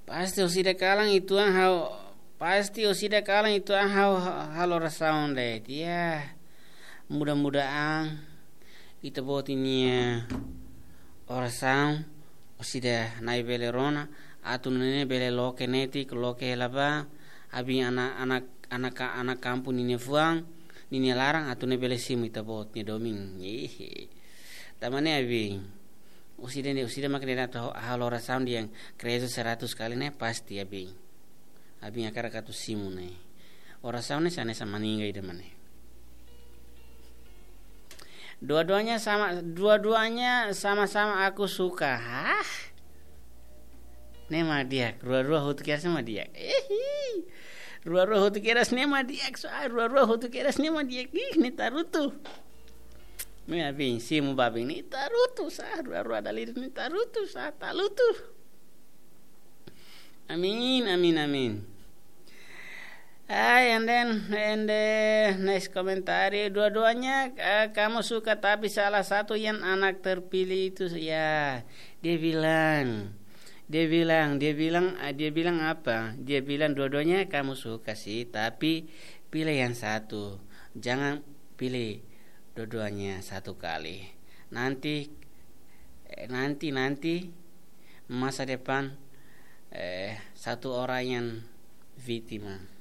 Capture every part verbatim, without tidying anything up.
Pasti orsida kalan ituan ha'u, pasti orsida kalan ituan ha'u ha-, halo orasaun de'it. Ya, mudah-mudahan ita-boot nia orasaun orsida Na'i bele rona, atu nune'e bele loke netik, loke hela ba, abin anak, anak, anak, anak kampung ninia fuan, ninia laran, atu nune'e bele simu ita-boot nia domin. Hehe. Tanba ne'e abin. Orsida ne'e, orsida mak ne'e atu halo orasaun dehan Credo seratus kali ne'e pasti abin. Abin hakarak atu simu ne'e. Orasaun ne'e hanesan maninga ida mak ne'e. Dua-duanya sama, dua-duanya sama-sama aku suka. Hah? Ne'e mak di'ak, rua-rua hotu kedas ne'e mak di'ak. Ehi. Rua-rua hotu kedas ne'e mak di'ak, sá, rua-rua hotu kedas ne'e mak di'ak. Ih, ne'e tarutu. Ne'e abin, simu ba abin ne'e tarutu, sá, rua-rua dala ida ne'e tarutu, sá, talutu. Amin, amin, amin. Ai, and then, and the next komentáriu, dua-duanya, eh, kamu suka, tapi salah satu yang anak terpilih itu, ya, dia bilang, dia bilang, dia bilang, ah, dia bilang apa? Dia bilang dua-duanya kamu suka sih, tapi pilih yang satu. Jangan pilih dua-duanya satu kali. Nanti, eh, nanti, nanti masa depan, eh, satu orang yang vítima.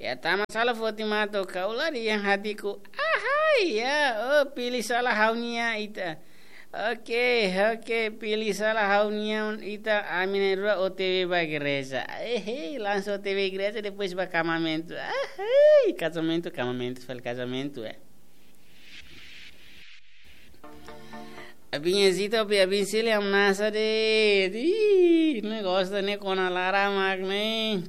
Ya, tama sala foti mato, kau lari yang hatiku. Ahai, ya, oh, pilih salah ha'u-nia ita. Oke, oke, pilih salah ha'u-nia ita, ami na'in-rua O T W ba igreja. Eh, hei, langsung O T W igreja, depois ba kazamentu. Ah, hei, kazamentu, kazamentu, fali kazamentu, eh. Abin hezita, abin, abin sili am nasa de. Ih, ne'e gosta ne'e kona laran mak ne'e.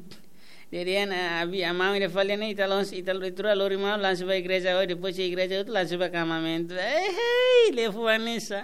Jadi, an, abi, amami de fali ne'e, ita lons, ita lo-, ita rua lori malu, langsung ba igreja, oh, depois de igreja, outro langsung ba kazamentu. Eh, hei, lefu Vanessa.